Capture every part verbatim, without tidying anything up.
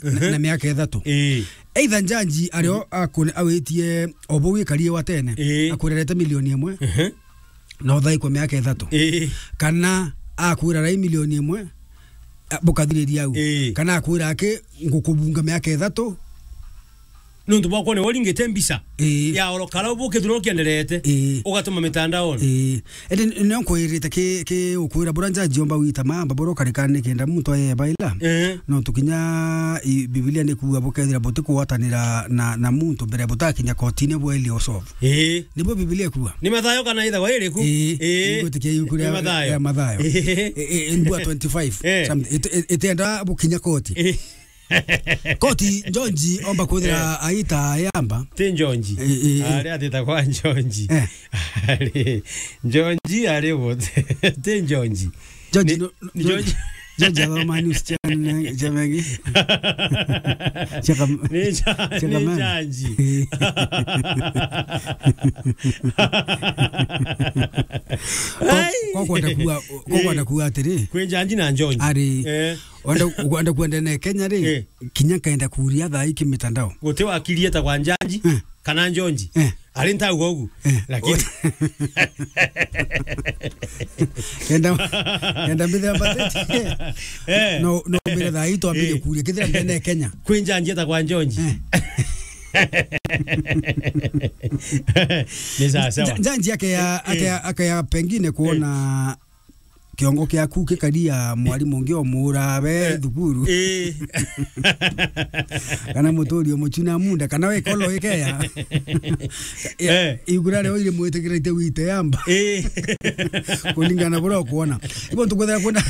na, na miaka ithatu. Ii. Either njanji ario akune-, awitie o bau ikarie wa tene, Ii. akwirerete milioni imwe, Ehe. na uthaikwa miaka ithatu. Ii. Kana akwira rai milioni imwe, a, bukathiriria au. Ii. Kana akwira aki, ngukubunga miaka ithatu. Nontu bwakwa ni woringite mbica Ii. ya oro kara bukithirwa ukienderete, Ii. ugatuma mitandaoni. Ii. Indi nio nkwirite ki, ki ukwira bura njanji omba wita mamba bura ukarikana nikenda muntu aye baila. Ii. Nontu kinya i, Bibilia nikuuga bukethira butikugwatanira na, na muntu mbere butakinya kotini bweli usolve. Ii. Nibo Bibilia ikuuga. Ni mathayo kana ithagwa iriku? Ii. Ii. Igwitikia iuku ria, Ni mathayo. ria mathayo. Ii. I, i, in bua twenty-five. Ii. Something. It, it, itienda bukinya koti. Ii. Koti, Njonji omba kwithira Eh. aita yamba. Ti Njonji. Eh, eh, eh. Ari atita kwa Njonji. Eh. Ari, Njonji ari wo. Ti Njonji. Njonji, Ni, no, no, ni Njonji. Njonji athoma news channel, channel ingi. Chaka-, Ni Nja-, chaka ni man. Njanji. Eh. Kwa, Ai. kwa kwenda kuuga, kwa Eh. kwenda kuuga atiri. Kwi Njanji na Njonji. Ari. Eh. Wenda, wenda kwenda na Kenya ri, Eh. kinya nkaenda kuria thaa iki mitandao. Guti wakiri eta kwa Njanji, Eh. kana Njonji. Eh. Ari ntauga ugu. Eh. Lakini Kenda, kenda mbithira mbatete. Eh. No, no mbire thaa ii twambire Eh. kuria. Kithira ndene Kenya. Kwi Njanji eta kwa Njonji. Eh. Ni sawa sawa. Nja-, Njanji akeya, Eh. akeya, akeya pengine kuona kiongo kiaku gikaria mwarimu ungi omura we Eh. thukuru. Eh. Kana muturi umuchuna munda, kana we kolo ikeya. Eh. Igura rio iri mwitikirite wite yamba. Eh. Kulingana na buria ukuona. Ibo ntukwethera kwenda.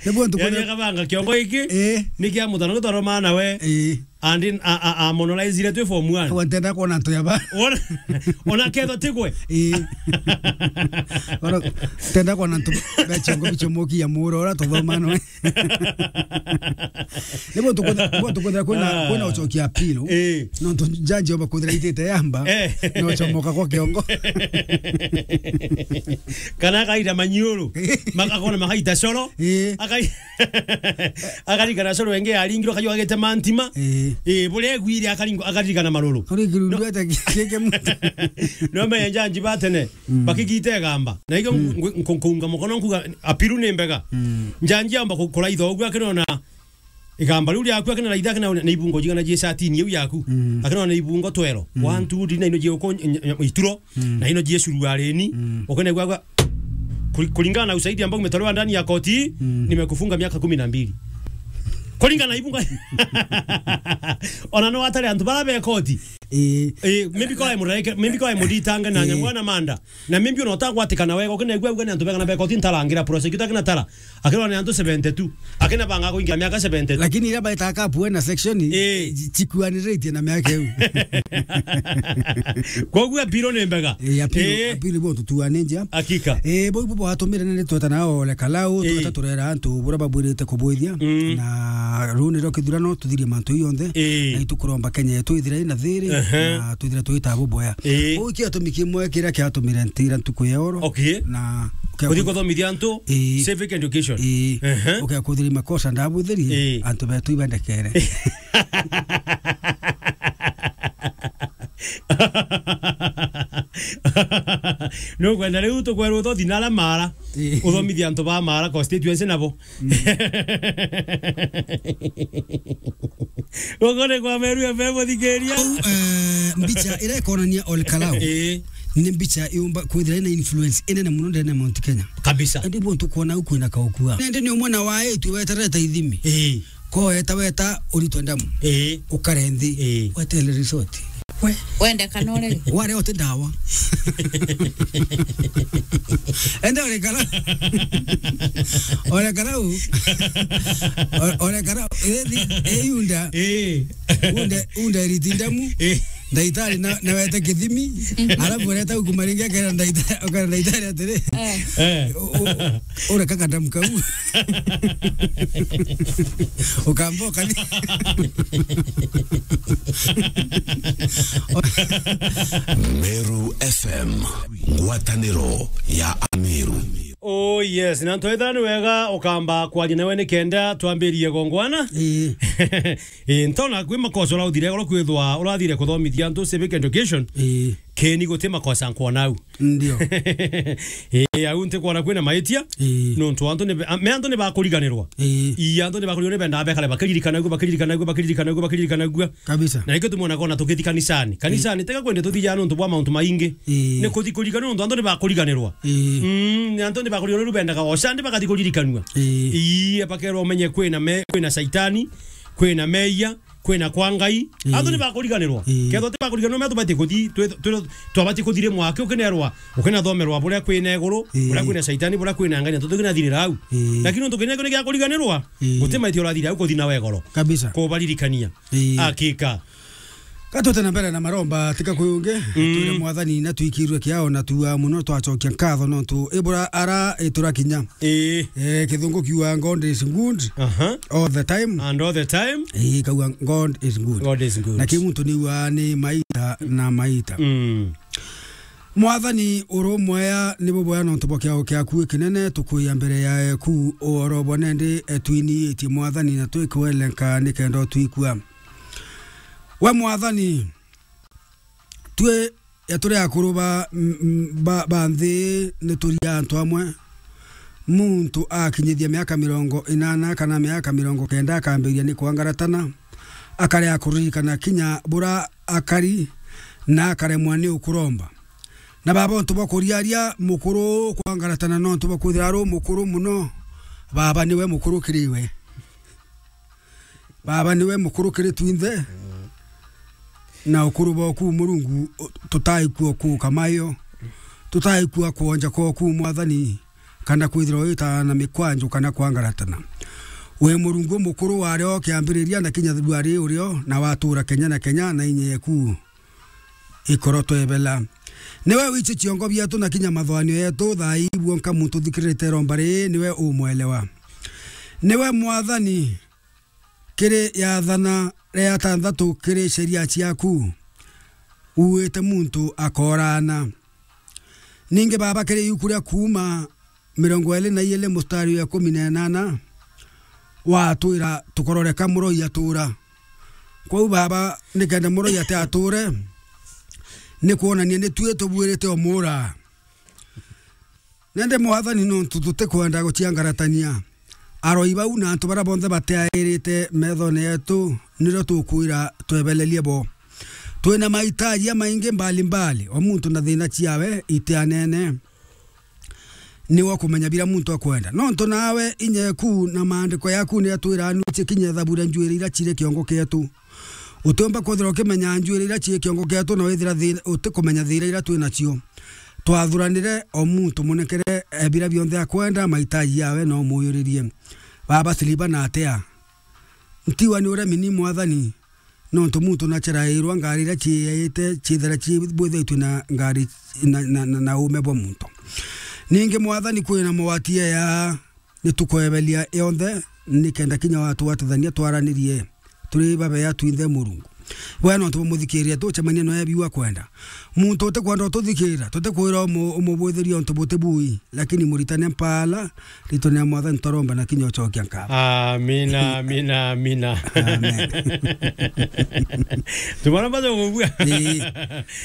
Nibo ntukwethera Yani akabanga kiongo iki, Eh. ni kia mutano gutwaromana we. Eh. And in, a, a, a monolaizire twi form one. Kwa ntenda kuona antu yaba. Ona, ona ketho tigwe. Ii. Oro, ntenda kuona antu bechongo bichomokia muro ora tuthoma no. Nibo tukwenda, nibo tukwenda kwina, Ah. kwina uchokia apilo. Ii. No tu judge oba kwithira itite yamba. Eh. No chomoka kwa kiongo. Kana akaita manyuru. Makakona makaita coro. Ii. Akai- Akarikana coro wenge aringirwo akajua agite mantima. Ii. Ii, buria egwire akaringo-, akaririkana maruru. Uri kirundu No. ata ki-, kike muntu. No me Njanji batene, Mm. bakigite gamba. Na igo Mm. ngu-, nku-, nkuunga mukono nkuga, apiru ni mbega. Mm. Njanji amba ku-, kuraitha ugu akinona igamba riu riaku akina raitha akina na ibungo jigana jie satini iu yaku. Mm. Akinona ibungo twero. Mm. One, two, three, na ino jie uko ny-, ny-, ituro. Mm. Na ino jie suruareni. Mm. Ukene gwa gwa Kuri-, kulingana na ushahidi ambao umetolewa ndani ya koti, Mm. nimekufunga miaka kumi na mbili. Kulingana na ibunga. Ona no atari antu bara be koti. Ii. Eh, maybe kwa mureke, maybe kwa muditange na Ii. nyamwana manda. Na maybe ona utagwatikana wega, ukene gwa gwa ni antu bega na be koti ntarangira prosecutor kina tara. Akirwa ni antu seventy-two. Akina banga kuingia miaka seventy-two. Lakini ira baita kapu na section, Ii. ji-, chikuaniritie na miaka iu. Koguo appeal ni mbega. Ii, appeal, Ii. appeal bo tutuane njia. Hakika. Ii, bo ibo bwatumire ni tweta nao ole kalau, Ii. tweta turera antu bura babwirite kubwithia. Mm. Na ruu ni ro kithurano tuthirie mantu yonthe. Ii. Na itukuromba Kenya yetu ithire ina thiri, Ehe. na twithire twita buboya. Ii. Bo ikio tumi kimwe kiria kiatumire ntira ntuku ya oro. Okay. Na Kuthi kuthomithia antu Ii. civic education. Ii. Ehe. Uke kuthiri makosa ndabwithiri, Ii. antu betu ibendekere. Nukwenda riu tukwerwa uthothi na aria Mara, Ii. uthomithia antu ba Mara constituency nabo. Mm. Gukuri kwa Meru F M, muthikiria. Kou, eh, mbicha iria ikonania Ole Kalau Ii. ni mbicha yumba kwithira ina influence inene muno ndene ya Mount Kenya. Kabisa. Indi buntu kwona au kwina kaukua. Nende ni umwe na wa itu wetereta ithimi. Ii. Ko weta weta uritwe ndamu. Ii. Ukare nthi. Ii. Wetele resort. We. Wende kana urege. Ware ote ndawa. Ende ole kara. Ole kara u. O-, ole kara. Ethi, eyunda. Eh. Unde, unde riti ndamu. Eh. Ndaitari na, na wete kithimi. Alafu ureta ukumaringia kera ndaitari, ukara ndaitari atiri. Eh. Eh. U-, u-, Ura kaka ndamu kau. Ukamba ukani. Meru F M, ngwatanĩro ya Ameru. Oh yes, na ntoitha ni wega ukamba kwaria nawe ni kenda twambirie gongwana. Ii. Ii, ntona kwi makosa ura uthire, ura kwithwa urathire kuthomithia antu civic education. Ii. Keni guti makosa nkwona au. Ndio. Ii, au nti kwona kwina maitia. Ii. Nontu antu ni, a, me antu ni bakuriganirwa. Ii. Ii, antu ni bakuriganirwa ni bendaa bekare bakiririkana gua, bakiririkana gua, bakiririkana gua, bakiririkana gua. Kabisa. Na ikio tumwona kona tukithi kanisani. Kanisani, tega kwende tuthijaa nontu bwa mauntu maingi. Ii. Ni kuthi kurigana nontu antu ni bakuriganirwa. Ii. Mm, ni antu ni bakuriganirwa bendaga oca ndi bakathi kuririkanua. Ii. Ii, bakerwa umenye kwina me, kwina Shaitani, kwina meia, kwina kwa Ngai. Ii. Antu ni bakuriganirwa. Ii. Kethwa ti bakuriganirwa, me tubati kuthi, twi-, twi-, twabati kuthiri mwaki ukinerwa, ukinathomerwa buria kwina iguru, ii, buria kwina Shaitani, buria kwina Ngai, na tutikinathirira au. Ii. Lakini nontu kinya kio ni gia kuriganirwa, ii, guti maiti urathira au kuthi na wegoro. Kabisa. Kubaririkania. Ii. Akika. Ka tute na mbere na maromba, tika kuyungi, mm, twire Mwathani na twikirwe kiao na tuaa muno, twacokia nkatho nontu ibura ara iturakinya. Ii. Eh, kithungu kiuga, "God is good, aha, all the time." And all the time. Ii, kauga, "God is good." God is good. Na ki muntu niuga ni maita na maita. Mm. Mwathani, urumwea ni bubwea nontu bwa kiao kiaku ikinene, tukuia mbere ya eku uhoro bwa nende, eh, twiniitie Mwathani na twikwelenka nikenda utwikua. We Mwathani, twi ya turi akuru ba, m-, m-, ba, ba nthi, ni turia antu amwe. Muntu akinyithia miaka mirongo inana kana miaka mirongo kenda akambiria ni kwangaratana, akaria kuririkana kinya bura akari na akaremwa ni ukuromba. Na baba, untu bwa kuriaria mukuru kwangaratana nontu bwa kwithira ari umukuru muno, baba niwe mukuru kiri we. Baba niwe mukuru kiri twinthe. Na ukuru bwaku Murungu, u-, tutaikua kuuka mayo. Tutaikua kwonja kwaku Mwathani, kana kwithirwa wita na mikwanju kana kwangaratana. Wi Murungu mukuru wari o kiambiriria na kinya thutha ari urio, na watura kenya na kenya na inya yeku ikorotwebela. Niwe wichi ciongo bietu na kinya mathwanio yetu, thaa ii bwonka muntu thikirite iromba riri, niwe umwelewa. Niwe Mwathani, kiri yathana ria atanthatu kiri sheria ciaku, uuite muntu akoorana. Ningi Baba, kiri iuku ria Kuuma mirongo iiri na iiri mustari wa ikumi na inana, watwira tukororeka muroi atuura. Kwou Baba, nikenda muroi ati atuure, ni kwonania ni tui tubuirite umuura. Nende Mwathani, nontu tutikwenda guciangaratania, aroi bau na antu baria bonthe batiairite methone yetu, nirio tukwira twebelerie bo. Twina mahitaji jamaingi mbali mbali, o muntu na thina ciawe itianene. Niwe ukumenya biria muntu akwenda. Nontu nawe inya eku na maandiko yaku ni atwira, nu cikinya thaburia njuiri iria ciri kiongo kietu. Utiumba kwithirwa ukimenya njuiri iria cii kiongo kietu na withira thi-, utikumenya thiira iria twi nacio. Twathuranire o muntu munengere, eh, biria bionthe akwenda, mahitaji yawe no muyuririe. Baba, siliba na atia? Ntiwa ni uremi ni Mwathani, nontu muntu nacherairwa ngari iria ciiyaite, ciithira cibwithaitue na ngari na, na, na, na uume bwa muntu. Ningi Mwathani, kwina mawati aya, ni tukwebelia yonthe, nikenda kinya watwatithania twaranirie turi babea twinthe Murungu. Bwega nontu bwa muthikiria tucemania noe biu akwenda. Muntu utikwenda ututhikira, tutikwira umu-, umubwithiria untu buti bui, lakini muritane mpaala, ritwa ria Mwathani twaromba na kinya ucokia nkatho. Amina, amina, amina. Amen. Tumaromba tukugua. Ii.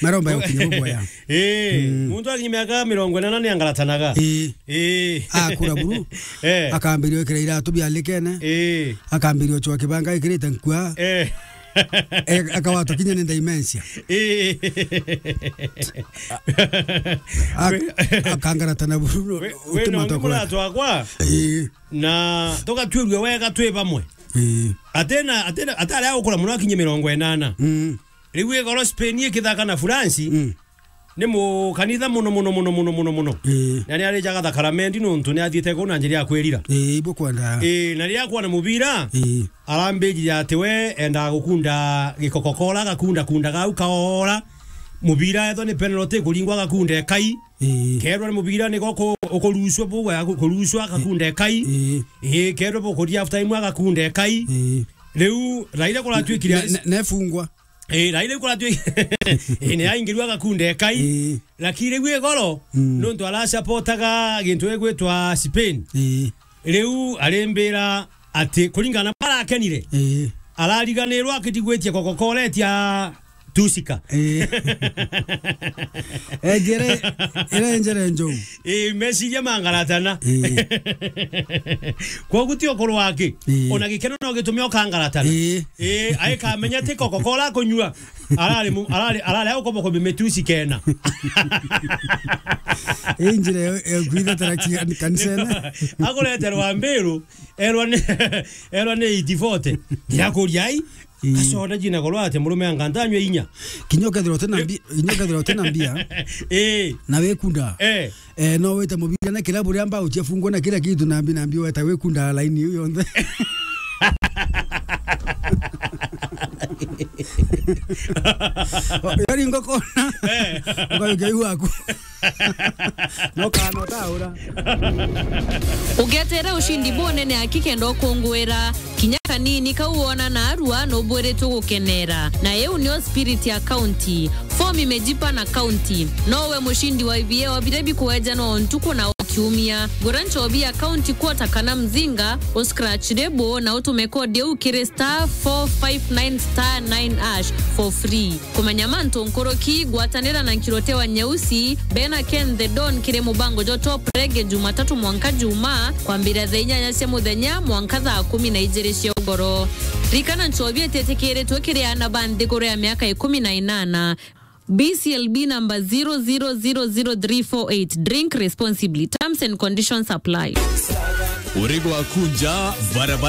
Maromba ya ukinya bubwea. Ii, mm, muntu akinya miaka mirongo inana ni angaratanaga. Ii. Ii. Akura buru. Eh. Akambiria gwikira iratu bialikene. Ii. Akambiria gucua kibanga ekirite nkua. Eh. Eh, akawatwa kinya ni dementia. Ii. Ak-, akangaratana buru, we, we utimanta no kwenda. Muratwa akwa. Ii. Na tugatuirua wega twi bamwe. Ii. Atena, atena, atari agukura muno akinye mirongo inana. Mm. Riu igoro Spain ikithaka na France. Mm. Ni mukanitha muno, muno, muno, muno, muno, muno. Ii. Na ni arijaga thakaramendi nontu ni athiite kuu na njira ya kwirira. Ii, ibu kwenda. Ii, na riria akwona mubira, ii, arambijire ati we endaga gukunda gikokokora, gakunda kunda gau kaora. Mubira ethwa ni penalty kuringwa gakunda ekai. Ii. Kerwa ni mubira ni goku-, ukurucwa bugwe, aku-, kurucwa gakunda ekai. Ii. Ii, kerwa bukuria half time agakunda ekai. Ii. Riu Raila kuratuikire ne-, ne-, nefungwa. Ii, Raila kuratuikire. Ii, ni aingirwa gakunda ekai. Ii. Lakini riu igoro, mm, nontu arasapotaga gintu gigwitwa Spain. Ii. Riu arimbira ati kuringana na barakenire, ii, arariganirwa akitigwitie Coca-Cola etia Tusika. Ii. Enjere, ire njere njou. Ii, meciria mangaratana. Ii. Kwogu ti ukuru wake. Ii. Ona gikeno no gitume ukangaratana. Ii. Ii, aikamenya ti Coca-Cola akunyua. Arari mu-, arari, arari au kobo kobi metusi kena. Injire yo, yo kwitha tara ki-, kanisene. Akureterwa mbiru, erwa ni, erwa ni eight forty. Ndirakuria ai, ii, kasoda jina korwa ati murume anga ntanywe inya. Kinya ukethirwa utina mbi-, kinya ukethirwa utina mbia, ii, na wikunda. Eh. Eh, no wite mubira na kirabu ria mbao ciafungwa na kila kitu, nambi, nambi weta wikunda laini iu yonthe. Yari ngokona. Eh. Ukayukia iu waku. No kana utaura. Ugetere ushindi bunene aki kenda ukungwira. Kinya kanini kau wona na arua nubwiritwe gukenera. Na iu nio spirit ya county. Form imejipa na county. Nowe mushindi wa I V A wa biria bikuejanwa o ntuku na o kiumia. Gura nchobi ya county quarter kana mzinga, u scratch label na utume code iu kiri star four five nine star nine hash for free. Kumenya mantu nkuruki, gwatanira na Nkirote wa Nyeusi, bena Ken the Don kiri mubango jwa Top Reggae Jumatatu mwanka Juma, kwambiria thaa inyanya cia muthenya mwanka thaa kumi na ijiri cia ugoro. Ririkana nchobi ititikiritwe kiri aana ba nthiguru ya miaka ikumi na inana. B C L B number zero zero zero zero three four eight. Drink responsibly. Terms and conditions apply. Urego akunja barabara.